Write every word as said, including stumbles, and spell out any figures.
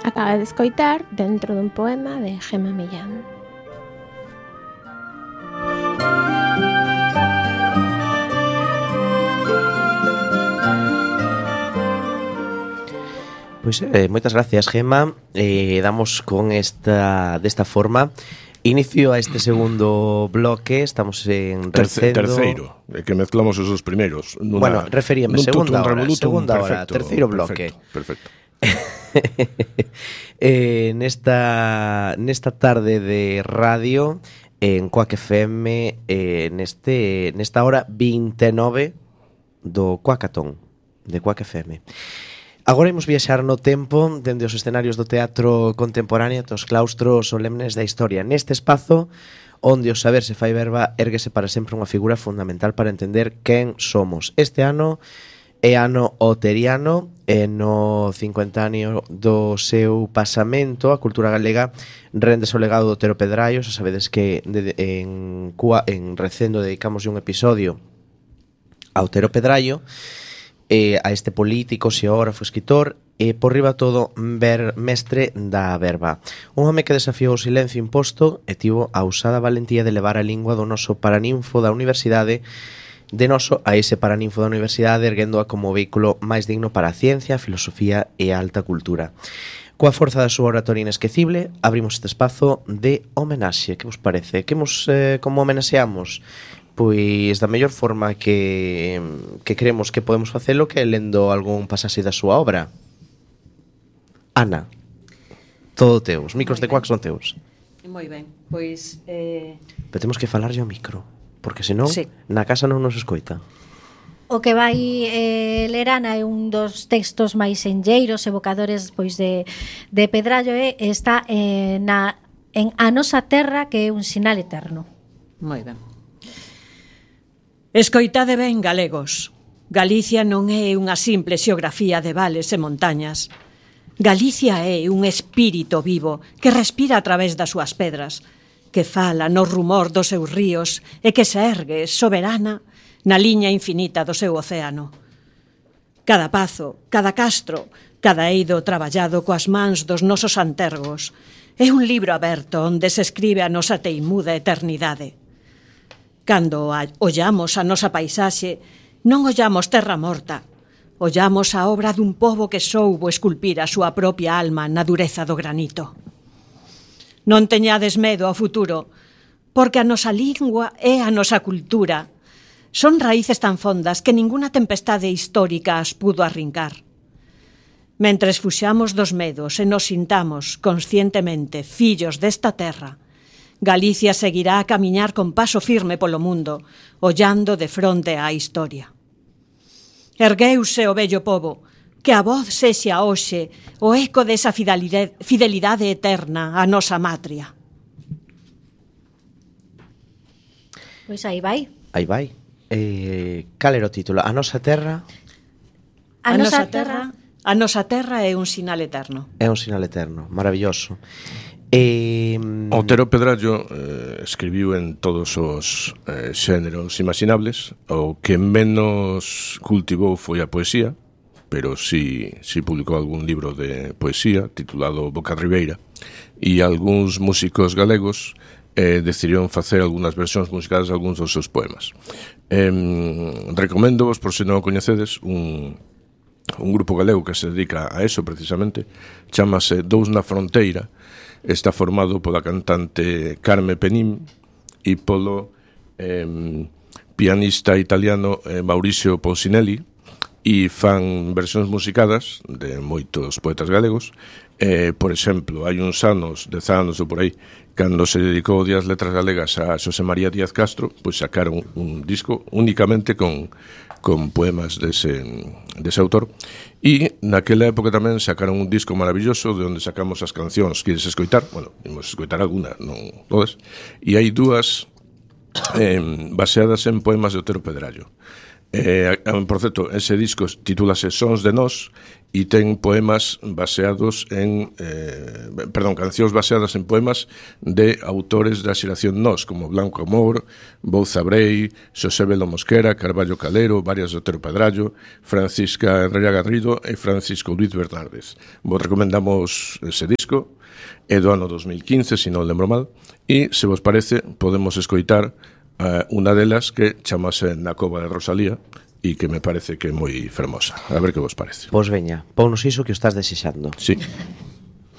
Acaba de escoitar dentro dun poema de Gemma Millán. Pois eh, moitas gracias, Gemma. Eh, damos con esta desta forma inicio a este segundo bloque. Estamos en Terce, recendo. Terceiro, é que mezclamos os dos primeiros nuna, Bueno, referíame, segunda hora, revolutum, segunda perfecto, hora, terceiro bloque. Perfecto, perfecto. eh, nesta nesta tarde de radio en Quack F M, eh, neste nesta hora vinte e nove do Quackatón de Quack F M. Agora imos viaxar no tempo dende os escenarios do teatro contemporáneo dos claustros solemnes da historia. Neste espazo onde o saber se fai verba, érguese para sempre unha figura fundamental para entender quen somos. Este ano é ano oteriano, e no cincuenta año do seu pasamento a cultura galega rende o legado do Otero Pedraio. Xa sabedes que de, en, Cua, en Recendo dedicamos un episodio a Otero Pedraio, eh, a este político, xeógrafo, escritor e por riba todo ver mestre da verba. Un home que desafiou o silencio imposto e tivo a usada valentía de levar a lingua do noso paraninfo da universidade de noso a ese paraninfo da universidade, erguéndoa como vehículo máis digno para a ciencia, a filosofía e a alta cultura. Coa forza da súa oratoria inesquecible, abrimos este espazo de homenaxe. Que vos parece? Que mos, eh, como homenaxeamos? Pois da mellor forma que, que creemos que podemos facelo, que lendo algún pasaxe da súa obra. Ana, todo teu. Os micros de Quack son teus. Moi ben, pois... Eh... Pero temos que falarlle ao micro, porque senón sí. Na casa non nos escoita. O que vai eh, ler Ana é un dos textos máis enlleiros, evocadores pois de, de Pedrallo, e está eh, na, en A Nosa Terra, que é un sinal eterno. Moi ben. Escoitade ben, galegos. Galicia non é unha simple xeografía de vales e montañas. Galicia é un espírito vivo que respira a través das súas pedras, que fala no rumor dos seus ríos e que se ergue soberana na liña infinita do seu océano. Cada pazo, cada castro, cada eido traballado coas mans dos nosos antergos é un libro aberto onde se escribe a nosa teimuda eternidade. Cando ollamos a nosa paisaxe, non ollamos terra morta, ollamos a obra dun pobo que soubo esculpir a súa propia alma na dureza do granito. Non teñades medo ao futuro, porque a nosa lingua e a nosa cultura son raíces tan fondas que ninguna tempestade histórica as pudo arrincar. Mentres fuxamos dos medos e nos sintamos conscientemente fillos desta terra, Galicia seguirá a camiñar con paso firme polo mundo, ollando de fronte á historia. Ergueuse o vello pobo, que a voz sexa hoxe o eco desa fidelidade, fidelidade eterna á nosa matria. Pois aí vai. Aí vai. Eh, cal era o título? A nosa terra... A, a nosa terra... A nosa terra é un sinal eterno. É un sinal eterno, maravilloso. Eh, Otero Pedrallo eh, escribiu en todos os eh, xéneros imaginables. O que menos cultivou foi a poesía, pero si, si publicou algún libro de poesía titulado Boca Ribeira, e algúns músicos galegos eh, decidiron facer algunhas versións musicales de algúns dos seus poemas. Eh, recomendo-vos, por se non o coñecedes, un, un grupo galego que se dedica a eso precisamente, chamase Dous na Fronteira. Está formado pola cantante Carme Penin e polo eh, pianista italiano eh, Mauricio Polsinelli, e fan versións musicadas de moitos poetas galegos. Eh, por exemplo, hai uns anos, dez anos ou por aí, cando se dedicou o Día das Letras Galegas a Xosé María Díaz Castro, pois sacaron un disco únicamente con, con poemas dese, dese autor. E naquela época tamén sacaron un disco maravilloso de onde sacamos as cancións. Queres escoitar? Bueno, imos escoitar alguna, non todas. E hai dúas eh, baseadas en poemas de Otero Pedrallo. Eh, por certo, ese disco titúlase Sons de Nós, e ten poemas baseados en eh, perdón, cancións baseadas en poemas de autores da xeración Nós, como Blanco Amor, Bouza Brei, Xosé Belo Mosquera, Carballo Calero, Varias de Otero Pedrallo, Francisca Enrella Garrido e Francisco Luis Bernárdez. Vos recomendamos ese disco, é do ano dos mil quince, se non lembro mal, e, se vos parece, podemos escoitar uh, unha delas que chamase Na Cova de Rosalía, e que me parece que é moi fermosa. A ver que vos parece. Pois veña, pounos iso que o estás desexando. Sí.